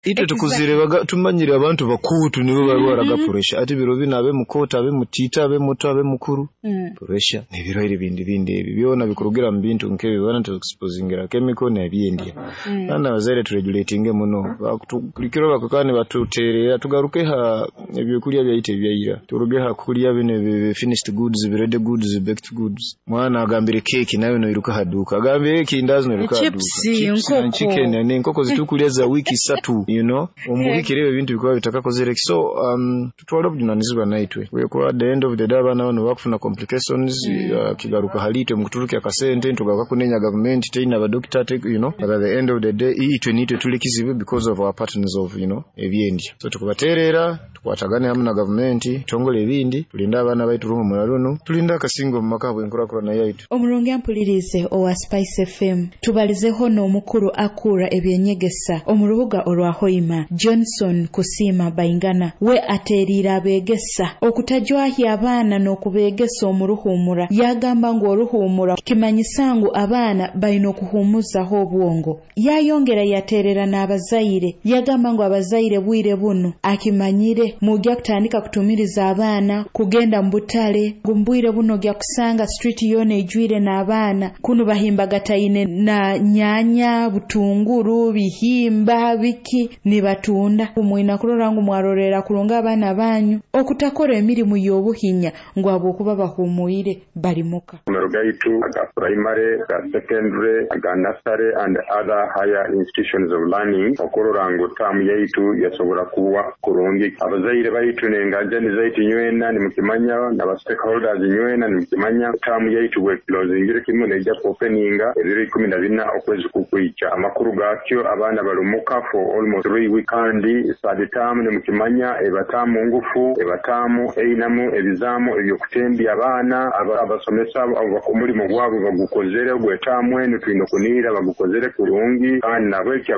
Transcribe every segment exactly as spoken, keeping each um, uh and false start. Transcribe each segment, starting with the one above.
Itwe tukuzirebaga tumanyire abantu bakuutu nibo barwaraga Mhm. pressure, ati biro binu abe mukooto, abe mutiito, abe muto, abe mukuru, Mm. pressure n'ebirwaire bindi bindi ebi byona bikurugira mu bintu nk'ebi abaana tuexposingira chemical n'ebyendya. Mm. Kandi abazaire turegulatinge muno, bakutu buli kiro bakwikara nibatuteererra tugaruke ha ebyokulya byaitu ebyaira, turuge ha kulya binu ebi finished goods, ready goods, baked goods. Mwana agambire keeki nawe noiruka ha dduuka, agambire ekindazi noiruka ha dduuka, Chips, chips na enkoko. chicken n'enkoko zetukulya za wiiki isatu, you know, omu wiiki ebyo ebintu bikuba bitakakozere ki. So um, tutwale obuvunanizibwa naitwe kuba at the end of the day abaana banu bakufuna complications, Mm. uh, kigaruka hali itwe mukuturukya akasente ntugaruka kunenya gavumenti teina badokita te, you know, but at the end of the day itwe niitwe tuli kizibu because of our patterns of you know, ebyendya. So tukubateerera tukwatagane hamu na gavumenti tutongole ebindi, tulinde abaana baitu ruhumura runu, tulinde akasingo omu maka habw'enkurakurana yaitu. Omurungi ampulirize owa Spice F M, tubalizeho n'omukuru akura ebyenyegesa omu rubuga orwa Hoima, Johnson Kusiima Baingana. We ateriire abeegesa okutajwahya abaana n'okubeegesa omu ruhumura. Yagamba ngu oruhumura kimanyisa ngu abaana balina okuhumuzaho obwongo. Yayongera yaterera n'abazaire, yagamba ngu abazaire bwire bunu akimanyire mujja kutandika kutumiriza abaana kugenda mu butale, ngu mbwire buno ojja kusanga street yoona ejwire n'abaana kunu bahimbagataine na nyanya, butunguru, bihimba, biki nibatunda. Mwina kurora ngu mwarorera kurungi abaana banyu okutakora emirimu y'obuhinya ngu habwokuba bahumuire bali muka. Amasomero gaitu aga primary, aga secondary, aga nursery and other higher institutions of learning okurora ngu taamu yaitu yasobora kuba kurungi. Abazaire baitu n'enganjani zaitu nywena nimukimanya, n'aba stakeholders nywena nimukimanya, taamu yaitu bwekilozingire kimu neija kuopeninga ebiro ikumi na bina okwezi kukwija. Amakuru gakyo, abaana bali muka for almost three weeks, kandi third term nimukimanya eba taamu ngufu, eba taamu einamu ebizaamu ebyokutembya abaana. Abasomesa omulimu gwabo bagukozere gwetaamu enu, twine okuniira bagukozere kurungi, kandi nabweki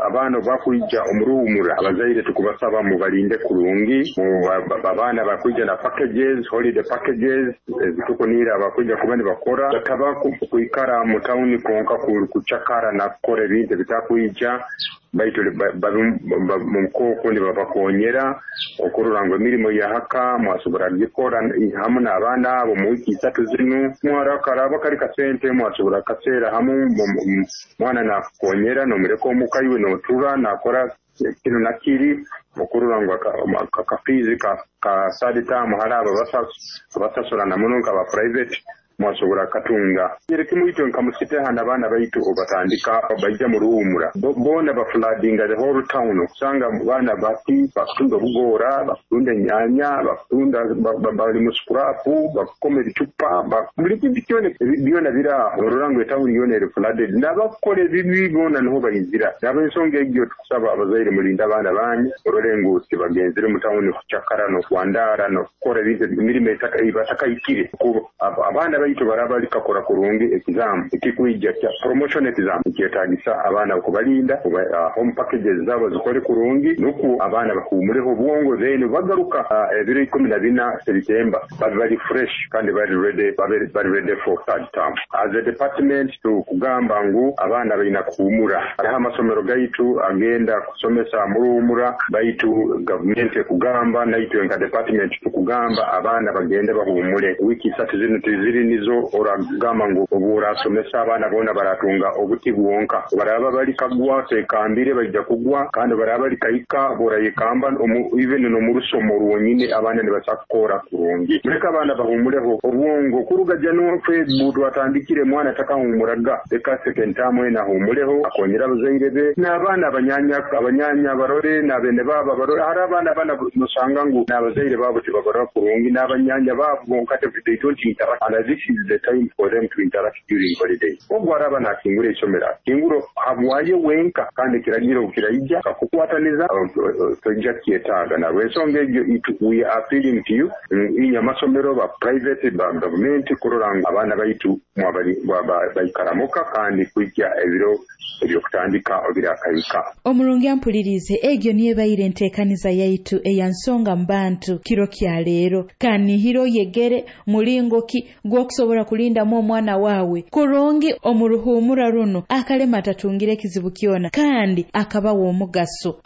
abaana obakwija omuruhumura, abazaire tukubasaba mubalinde kurungi. Abaana bakwija na packages, holiday packages ezitukuniira abakwija kuba nibakora, bataba kwikara mu tawuni konka kucakara nakukora ebintu ebitakwija, baitu mukooko nibabakonyera okurora ngu emirimo yahaka mwasobora kugikora hamu n'abaana abo mu wiiki isatu zinu. Mwarakaraba kali kasente mwasobora kaseera hamu, mwana nakukonyera nomuleka omuka iwe notura nakora kinu nakiri okurora ngu akafiizi ka third term hali abo abasasura muno nkaba private mwasobora katunga. Kimu itwe nka musiteha n'abaana baitu obatandika baija mu ruhumura, boona bafloodinga the whole town, okusanga baana bati bakutunda obugoora, bakutunda enyanya, bakutunda, bali mu scrap, bakukoma ebicupa, buli kintu kyona byona biri aho. Orora ngu etawuni yoona eri flooded, n'abakukora ebibi boona niho baizira. N'ab'ensonga egyo tukusaba abazaire mulinde abaana banyu, orole ngu tibagenzere mu tawuni kucakara n'okwandaara n'okukora ebintu emirimo batakahikire. Abaana baitu baraba likakora kurungi exam ekikwija kya promotion exam, ekyetagisa abaana okubalinda, uh, home packages zabo zikole kurungi, nukwo abaana bahumureho obwongo, then bagaruka uh, ebiro ikumi na bina September babe bali fresh kandi bali ready, babe bali ready for third term. As a department tukugamba ngu abaana balina kuhumura. Hariho amasomero gaitu agenda kusomesa muruhumura, baitu gavumenti ekugamba naitwe nka department tukugamba abaana bagende bahumure wiiki isatu zinu. Tiziri nizo oragamba ngu obu orasomesa abaana boona baratunga obuti bwonka. Baraba bali kagwa tekambire baija kugwa, kandi baraba bali kahika borayekamba, even n'omu rusomo rwonyine abaana nibasa kukora kurungi. Muleke abaana bahumureho obwongo. Kuruga January, February twatandikire, mwana takahumuraga. Leka second term ena ahumureho, akonyera abazaire be n'abaana, abanyanya abanyanya barore n'abene babo barore. Hari abaana bana nosanga ngu n'abazaire babo tibabarora kurungi n'abanyanya babo bonka, they don't interact, and this is the time for them to interact during holiday. Ogwo araba nakingura isomero akinguro habwaye wenka, kandi ekiragiro kiraija kakukwataniza tojja kyetaaga. Nabwensonga egyo we are appealing to you inye amasomero ba private, ba gavumenti, kurora ngu abaana baitu baikaramuka kandi kwikya ebiro ebyokutandika birakahika. Omurungi ampulirize, egyo niyo ebaire enteekaniza yaitu eya Nsonga mu Bantu kiro kya leero. Kanihiro oyegere mulingo ki gw'okusobora okusobora kulindamu omwana waawe kurungi omu ruhuumura runu akalema atatungire ekizibu kyona kandi akaba w'omugaso.